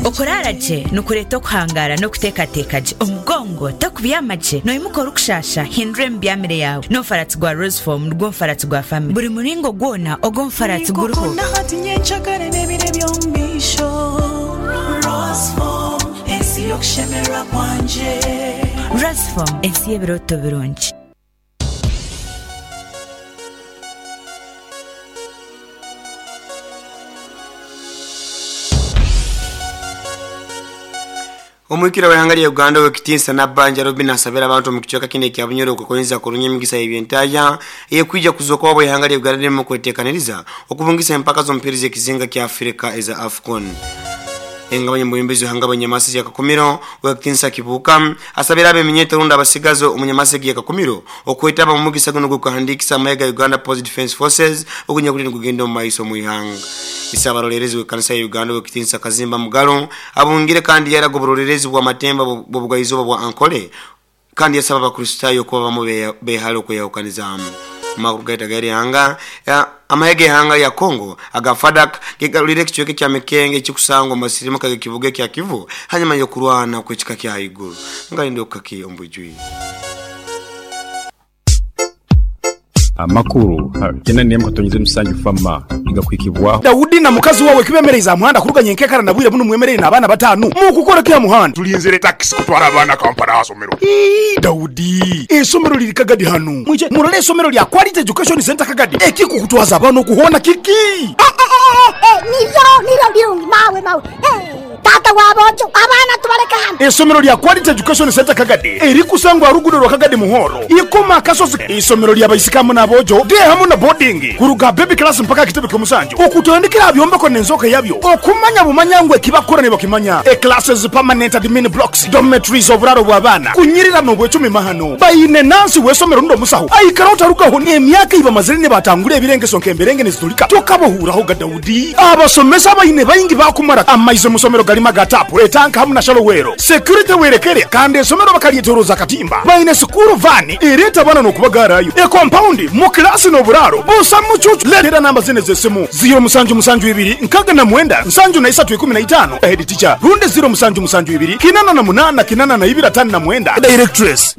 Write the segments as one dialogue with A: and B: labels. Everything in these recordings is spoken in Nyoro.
A: Okuraara gye nikureeta okuhangaara n'okuteekateeka gye. Omugongo tokubyama gye, noimuka orikushaasha, hindura emibyamire yaawe. N'omufaratsi gwa Rosefoam nigwo mufaratsi gwa famire. Buri muringo gwona ogw'omufaratsi guriho. Rosefoam, ensi y'ebirooto birungi.
B: Omwikira w'eihanga lya Uganda Owekitinsa Nabbanja Robinah asabire abantu omu kicweka kinu ekya Bunyoro okwekonyeza kurungi emigisa y'ebyentahya eyekwija kuzooka obu eihanga lya Uganda lirimu kwetekaniriza okubungisa empaka z'omupiira ez'ekizinga kya Africa eza AFCON. Engabanya omu bwebembezi bw'eihanga bw'enyamasezi ya Kakumiro, Owekitinsa Kibuuka asabire ab'eminyeto rundi abasigazi omu nyamasegi ya Kakumiro okwetaba omu mugisa gunu ogw'okuhandiikisa amahe ga Uganda Post Defence Forces ogunyakuli nigugenda omu maiso omu ihanga. Isaabaroleerezi w'ekanisa ya Uganda Owekitinsa Kazimba Mugalu abungire kandi yaraga oburoleerezi bw'amatemba bw'obugaizooba bwa Ankole kandi yasaba Abakristaayo okuba bamu behale okweyahukanizaamu. Amakuru gaitu ag'erihanga, Amahe g'eihanga lya Congo aga FARDC gegaruriire ekicweka ekya Mikenge ekikusangwa omu masirimuka g'ekibuga ekya Kivu hanyuma y'okurwana okw'ekika kya haiguru. Ngalinde okukaki omu bwijwire.
C: Amakuru ha kinana n'emu katonyeza musanju fama nigakuhikibwaho.
D: Daudi na mukazi wawe kibemereize aha muhanda kuruga nyenkekara na bwire bunu mwemereire n'abaana batanu. Mukukora ki aha muhanda?
E: Tulinzire takisi kutwara abaana Kampala aha somero.
D: Ii, Daudi, eisomero liri Kagadi hanu. Mwije murole eisomero lya Quality Education Centre Kagadi. Ekikukutwaza abaana okuhoona kiki?
F: Niryo, niryo birungi mawe, mawe. Taata wa boojo, abaana tubaleke hano.
D: Eisomero lya Quality Education Centre Kagadi erikusangwa aha luguudo rwa Kagadi Muhoro, Ikoma Akasozi. Eisomero lya baisiki hamu n'aboojo, day hamu na boarding, kuruga aha baby class mpaka aha kitebe ky'omusanju, okutandikira aha byombeko n'enzooka yabyo, okumanya bumanya ngu eki bakukora nibakimanya. E Classes, permanent admin blocks, dormitories, oburaaro bw'abaana, kunyirira n'obwecumi mahano. Baine nansi w'eisomero rundi omusaho aikara otarugaho n'emyaka ei bamazire nibatangura ebirengeso nk'emberenge nizitulika tokabohuuraho ga Daudi. Abasomesa abaine baingi baakumara amaizi omu somero garimu aga taapu, etanka hamu na shalowero. Security werekere kandi esomero bakaryetoroza akatimba. Baine sikuuru vaani ereeta abaana n'okubagaarayo. Ekompaundi mu kilaasi n'oburaaro busa mucuucu. Leetera namba zinu ez'esimu, ziiro musanju musanju ibiri nkaaga na mwenda nsanju na isatu ikumi na itaano, Head teacher, rundi ziiro musanju musanju ibiri kinana na munaana kinana na ibiri ataano na mwenda, Directress.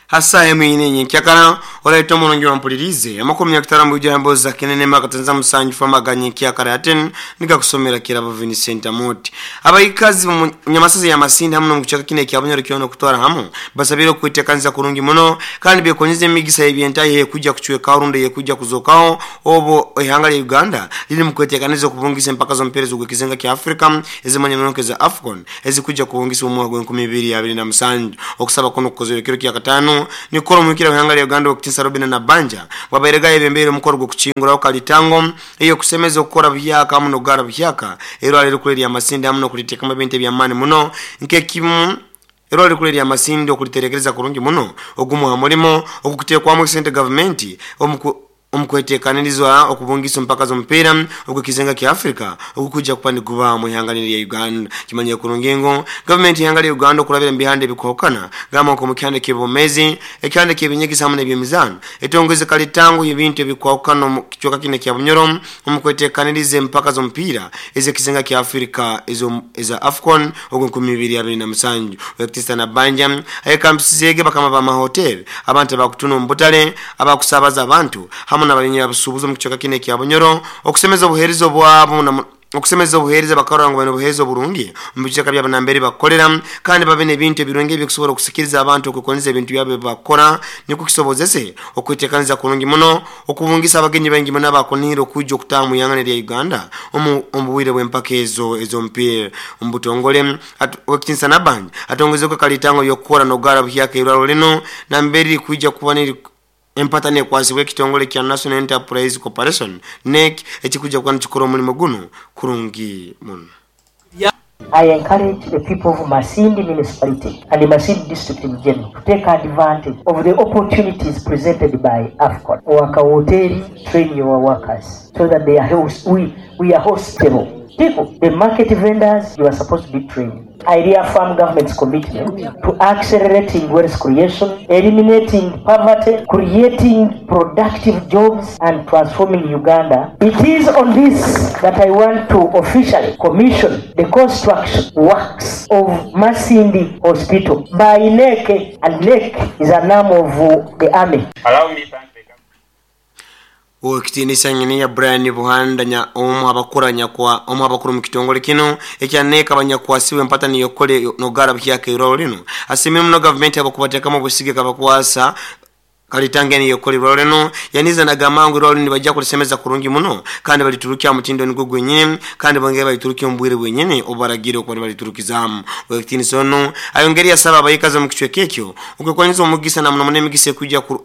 B: Ha saaha emu eine nyenkyakara, oraita omurungi wampuliriize, amakumi akutaano mu bwijwire emboozi za Kinene Makatanza Musanju Fama aga nyenkyakara ya ten nigakusomera Kirabo Vincent Amooti. Abaikazi bomu Nyamasaza ya Masindi hamu nomu kicweka kinu ekya Bunyoro kyona okutwara hamu basabire okwetekaniza kurungi muno kandi bekonyeze emigisa y'ebyentaahi ey'ekwija kucwekaho rundi ey'ekwija kuzookaho obu eihanga lya Uganda liri mukwetekaniza okubungisa empaka z'omupiira ez'ogw'ekizinga kya Africa ezimanyirwe nk'eza AFCON ezikwija kubungisibwa omu mwaka gw'enkumi ibiri abiri na musanju. Okusaba kunu kukozirwe ekiro kya Kataano nikukora omwikira w'ihanga lya Uganda Owekitiinisa Robinah Nabbanja bwabairege ayebembeire omukoro gw'okukinguraho kalitango ey'okusemeza okukora buhyaka hamu n'okugara buhyaka erwaro erikuru erya Masindi hamu n'okuliteekamu ebintu eby'amaani muno nk'ekimu erwaro erikuru erya Masindi okuliterekereza kurungi muno ogumu ha mulimo ogukuteekwamu esente gavumenti omu Omu kwetekaniriza okubungisa empaka z'omupiira ogw'ekizinga kya Africa ogukwija kuba niguba omu ihanga linu erya Uganda, kimanyire kurungi ngu gavumenti y'ihanga lya Uganda okurabira omu bihanda ebikwahukana gamba nk'omu kihanda eky'ebwomeezi, ekihanda eky'ebinyegesa hamu n'eby'emizaano etongweze kalitango y'ebintu ebikwahukana omu kicweka kinu ekya Bunyoro omu kwetekaniriza empaka z'omupiira ez'ekizinga kya Africa eza AFCON ogw'enkumiibiriabirinamusanju. Wekitiisa Nabbanja ayekambisizeege bakama b'amahoteeri, abantu abakutuna omu butale, abakusaabaza abantu hamu n'abanyabusuubuzi omu kicweka kinu ekya Bunyoro okusemeza obuheereza obwabo na okusemeza obuheereza bakarora ngu baine obuheereza oburungi omu bicweka byabo nambere bakukorera kandi babe n'ebintu ebirungi ebikusobora okusikiriza abantu okwekonyeza ebintu byabo ebi bakukora nikwo kisobozese okwetekaniza kurungi muno okubungisa abagenyi baingi muno abakunihira okwija okutaaha omu ihanga erya Uganda omu omu bwire bw'empaka ezo ez'omupiira omu butongole. Owekitinisa Nabanja atongeizeku akalitango ly'okukora n'okugara buhyaka eirwaro linu nambere lirikwija kuba niri empata nekwasibwa ekitongole kya National Enterprise Corporation, NEC, ekikwija kuba nikikora omulimo gunu kurungi muno.
G: I encourage the people of Masindi Municipality and Masindi District in general to take advantage of the opportunities presented by AFCON. Owaka woteeri, train your workers so that they are we, we are hostable. People, the market vendors, you are supposed to be trained. I reaffirm government's commitment to accelerating wealth creation, eliminating poverty, creating productive jobs, and transforming Uganda. It is on this that I want to officially commission the construction works of Masindi Hospital by NEC, and NEC is an arm of the army.
H: Allow me thank the
B: Owekitinisa nyini ya Brian Buhanda nya omu abakura nyakwa omu abakuru mu kitongole kino ekyaneka abanyakwasiwe empata niyokole nogara byake irwalo lino asimire muno gavumenti abakubateekamu obusige kabakwasa kalitange niyokole irwalo lino yaniza nagamangu irwalo lino bajja kulisemeza kurungi muno kandi baliturukya mutindo nigwo gwenyine kandi bongera baliturukya omubwire bwenyine obaragire okuba baliturukizamu. Owekitinisa ono ayongeri yasaba abayikazi mu kicweka ekyo okwekwaniza omugisa na muno muno emigisa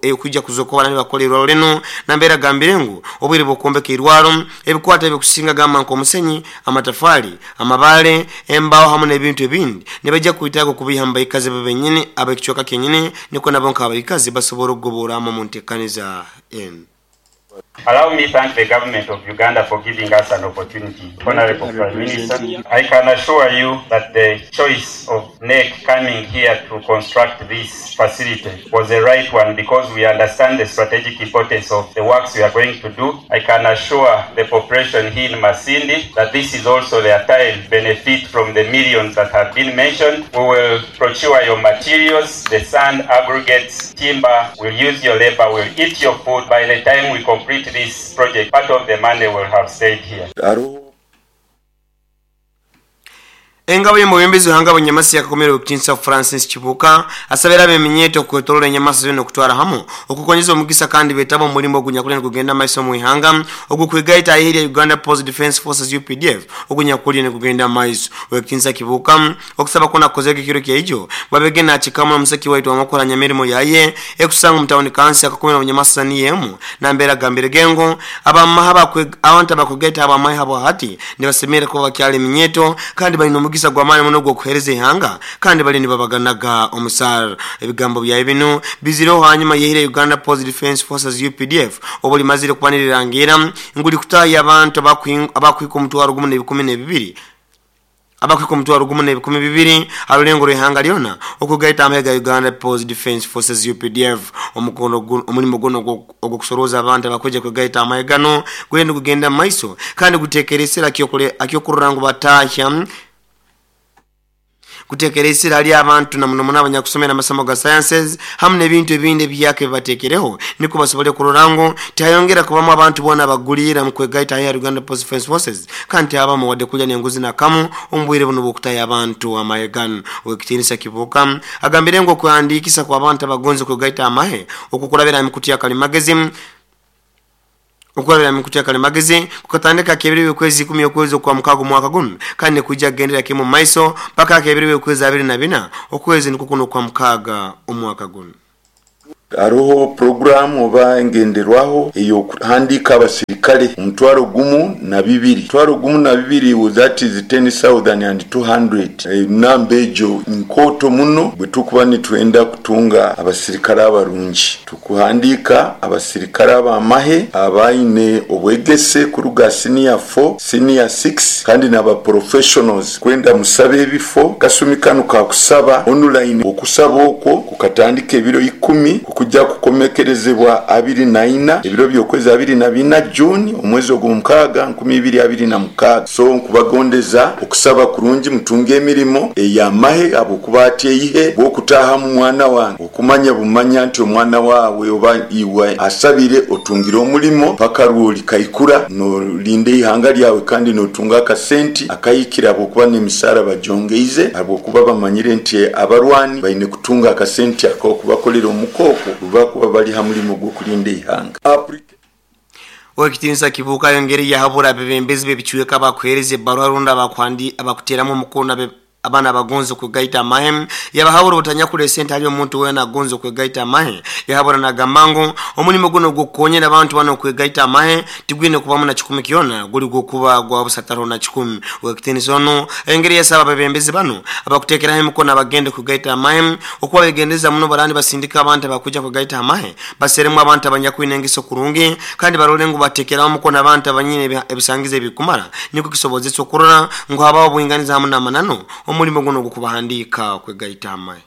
B: ekujja kuzokoba nani bakola irwalo lino nambeera agambire ngu obwire bw'okwombeka irwalo ebikwata ebikusinga gamba nk'omusenyi, amatafali, amabaale, embaawo hamu n'ebintu ebindi nibajja kwetaaga okubiha mu bayikazi bo benyini ab'ekicweka kenyini niko nabo nk'abayikazi basobora okugoboramu mu nteekaniza enu.
H: Allow me thank the government of Uganda for giving us an opportunity. Honorable Prime Minister, I can assure you that the choice of NEC coming here to construct this facility was the right one because we understand the strategic importance of the works we are going to do. I can assure the population here in Masindi that this is also their time to benefit from the millions that have been mentioned. We will procure your materials, the sand, aggregates, timber, we'll use your labor, we'll eat your food. By the time we complete this project, part of the money will have stayed here.
B: Engabo y'omubembezi w'ihanga Bunyamasi yakakomera Owekitinisa Francis Kibuuka asabira ab'eminyeeto okwetoroora enyamasi zona okutwara hamu okukonyeza omugisa kandi beetaba omu mulimbo ogunyakuli nigugenda maiso mu ihanga ogukwegaita aheri ya Uganda People's Defence Forces UPDF ogunyakuli nigugenda maiso. Owekitinisa Kibuuka okusaba kwona kukozeka ekiro kyaijo babege nakikamu omuseki waitu wamukoranya emirimu yaye ekusanga omu tawuni kansi yakakomera Bunyamasi saniyemu nambeera agambire gengo abamaha abantu abakwegaita abamahe habo hati nibasemere kuba bakyali eminyeeto kandi balina omugisa gw'amaani muno ogw'okuheereza ihanga kandi bali nibabaganaga omusaara. Ebigambo byaye bino bizireho hanyuma yehire Uganda People's Defence Forces UPDF obulimazire kubanirirangira nguli kutaaya abantu abakwika 1,012 abakwika 1,012 alulengo lw'ihanga lyona okugaita amahe ga Uganda People's Defence Forces UPDF. Omulimu guno ogw'okusoroza abantu abakweja kwegaita amahe gano gugenda kugenda mu maiso kandi guteekeresera akyokurora ngu batahya kutekeresera ali abantu na muno muno abanyakusomera amasomo ga sciences hamu n'ebintu ebindi ebyake bibateekereho niko basobole kurora ngu tihayongera kubamu abantu boona abagulira mu kwegaita ya Uganda People's Defence Forces kandi abamu wadde kulya n'enguzi nakamu omu bwire buno bw'okutaya abantu amahe gano. Owekitinisa Kibuuka agambire ngu okuhandiikisa kw'abantu abagonza kwegaita amahe okukurabira emikutu ya kalimagezi okurabira emikutu ya kalimagezi kukatandika kebiri okwezi 10 okwezi okwa mukago mwaka guno kandi kujja kugendera kimu maiso paka kebiri okwezi 24 okwezi niko kuno kwa mukaga omwaka guno.
I: Hariho programu oba engenderwaho ey'okuhandiika abasirikale 12,000 12,000 that is 10,200 namba egyo nkooto muno bwe tukuba nitwenda kutunga abasirikale abarungi. Tukuhandiika abasirikale ab'amahe abaine obwegese kuruga senior 4 senior 6 kandi n'aba professionals kwenda musabe ebifo kasumi kanu kakusaba online okusaba okwo kukatandika ebiro 10 kujja kukomekerezebwa 24 ebiro by'okwezi 24 June omwezi ogw'omukaaga 2026. So nkubagondeza okusaba kurungi mutunge emirimo ey'amahe abokuba ateihe bw'okutaaha mu mwana wange okumanya bumanya nti omwana waawe oba iwe asabire otungire omulimo paka rwoli kaikura nolinda ihanga lyawe kandi notunga akasenti akahikira abokuba n'emisaara bajongeize abokuba bamanyire nti abarwani baine kutunga akasenti ak'okubakolera omukooko bakuba bali ha mulimu gw'okulinda ihanga.
B: Owekitinisa Kibuuka ayongere yahabura abebembezi b'ebicweka abakuheereza ebbaruha rundi abakuteeramu omukono Abaana abagonza okwegaita amahe yabahabura obutanyakura esente hali omuntu weena agonza okwegaita amahe. Yahabura nagamba ngu omulimu guno ogw'okukonyera abantu bano okwegaita amahe tigwine kubamu na kikumi kyona, guli gw'okuba gwa busataro na kikumi. Owekitiinisa onu engeri yasaba abebembezi bano abakuteekeraho emikono abagenda kugaita amahe okuba begendereza muno barani basindika abantu abakuja kugaita amahe, baseremu abantu abanyakwine engeso kurungi kandi barole ngu bateekeraho omukono abantu abanyine ebisangizo ebikumara, nikwo kisobozesa okurora ngu habaho obwinganiza hamu n'amananu omulimu guno ogw'okubahandiika okwegaita amahe.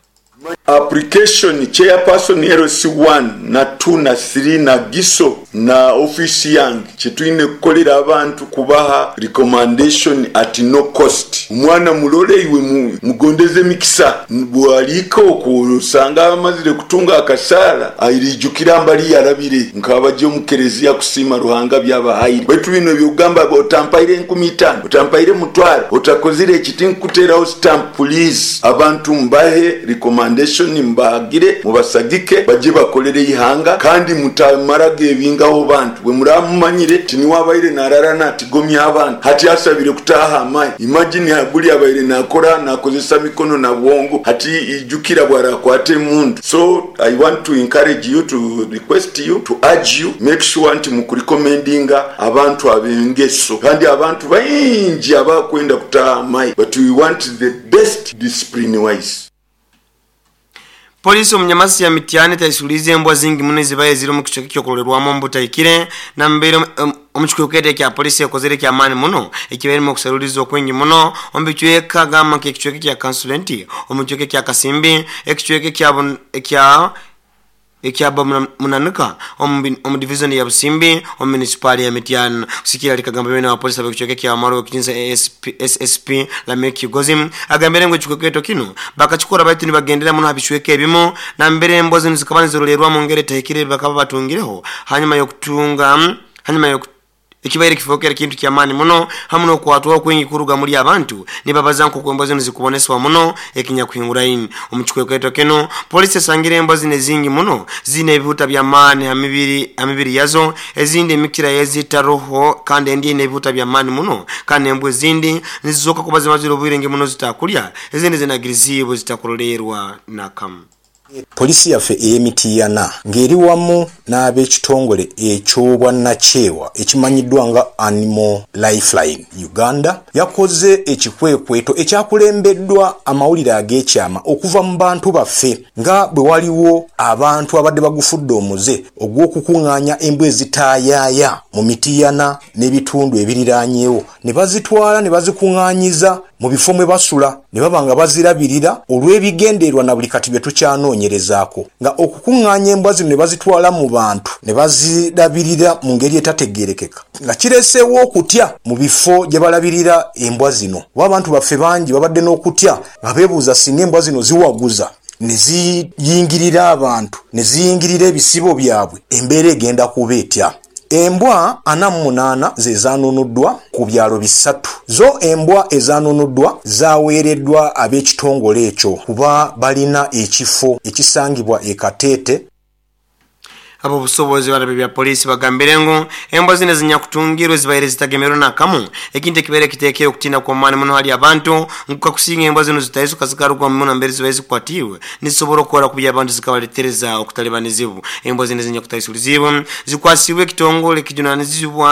I: Application chairperson LC1 na 2 na 3 na GISO na office yange kyetwine kukolera abantu kubaha recommendation at no cost. Omwana murole iwe mugondeze emikisa, bwaliika okwo osanga amazire kutunga akasaara airijukira mbali yarabire nk'abajya omu kereziya kusiima Ruhanga byabahaire. Baitu bino ebyokugamba otampaire 5000, otampaire mutwaro, otakozire eki, tinkukuteraho stamp, please abantu mbahe recommendation, mubahagire, mubasagike bajye bakolere eihanga kandi mutamara gebingaho bantu. Bwe muramumanyire ti niwe abaire narara natigomya abantu, hati asabire kutaha amahe. Imagine guli abaire nakora nakozesa mikono na bwongo, hati ijukira bwarakwata emundu. So I want to encourage you, to request you, to urge you, make sure nti mukurecommendinga abantu abengeso kandi abantu baingi abakwenda kutaha amahe, but we want the best discipline wise.
B: Polisi omu nyamasi ya Mityana etaisulize embwa zingi muno ezibaye ziri omu kicweka ekyokurolerwamu omu butahikire nambere omu kikwekweto ekya polisi ekozere ekyamaani muno ekibairemu okusaruliza okwingi muno omu bicweka gamba nk'ekicweka ekya Kansulenti, omu kicweka ekya Kasimbi, ekicweka ekya ekya Munanika omu divizoni ya Busimbi omu munisipaali ya Mityana. Kusikira likagamba bene wa polisi ab'ekicweka ekya Maro ekitinisa SSP Lamek Kigozi agambire ngu ekikwekweto kino bakakikora baitu nibagendera muno ha bicweka ebimu nambere embwa zinu zikaba nizirolerwa mu ngeri etahikire bakaba batungireho hanyuma y'okutunga hanyuma ekibaire kifookere kintu kyamaani muno hamu n'okukwatwaho kwingi kuruga muri abantu nibabaza nk'oku embwa zinu zikubonesebwa muno ekinyakuhinguraine. Omu kikwekweto kino polisi esangire embwa zinu ezingi muno ziine ebihuta by'amaani ha mibiri yazo, ezindi emikira yezitaroho kandi endi eine ebihuta by'amaani muno, kandi embwa ezindi nizizooka kuba zimazire obwire ngi muno zitakulya, ezindi zinagiriziibwe zitakurolerwa nakamu.
J: Poliisi yaffe ey'e Mityana ng'eri wamu n'ab'ekitongole eky'obwannakyewa ekimanyiddwa nga Animal Lifeline Uganda yakoze ekikwekweto ekyakulembeddwa amawulire ag'ekyama okuva mu bantu baffe nga bwe waliwo abantu abadde bagufudde omuze ogw'okukung'aanya embwa ezitaayaaya mu Mityana n'ebitundu ebiriraanyeewo ne bazitwala ne bazikung'aanyiza mu bifo mwe basula ne baba nga bazirabirira olw'ebigendererwa na buli kati bye tukyanoonyerezaako nga okukung'aanya embwa zino ne bazitwala mu bantu ne bazirabirira mu ngeri etategeerekeka nga kireeseewo okutya mu bifo gye balabirira embwa zino kuba abantu baffe bangi babadde n'okutya nga beebuuza singa embwa zino ziwaguza ne ziyingirira abantu ne ziyingirira ebisibo byabwe embeera egenda kuba etya. Embwa 48 ze zaanunuddwa ku byalo bisatu. Zo embwa ezaanunuddwa zaaweereddwa ab'ekitongole ekyo kuba balina ekifo ekisangibwa e Kateete.
B: Ab'obusobozi barabe bya polisi bagambire ngu embwa zino ezinyakutungirwe zibaire zitagemerwe nakamu, ekintu ekibaire kiteekere okutiina kw'amaani muno hali abantu ngu kakusinga embwa zino zitaisuka zikarugwa muno mbere zibaire zikwatiirwe nizisobora okukora kubi abantu zikabaletereza okutalibanizibwa. Embwa zino ezinyakutaisuliziibwe zikwasibwe ekitongole ekijunanizibwa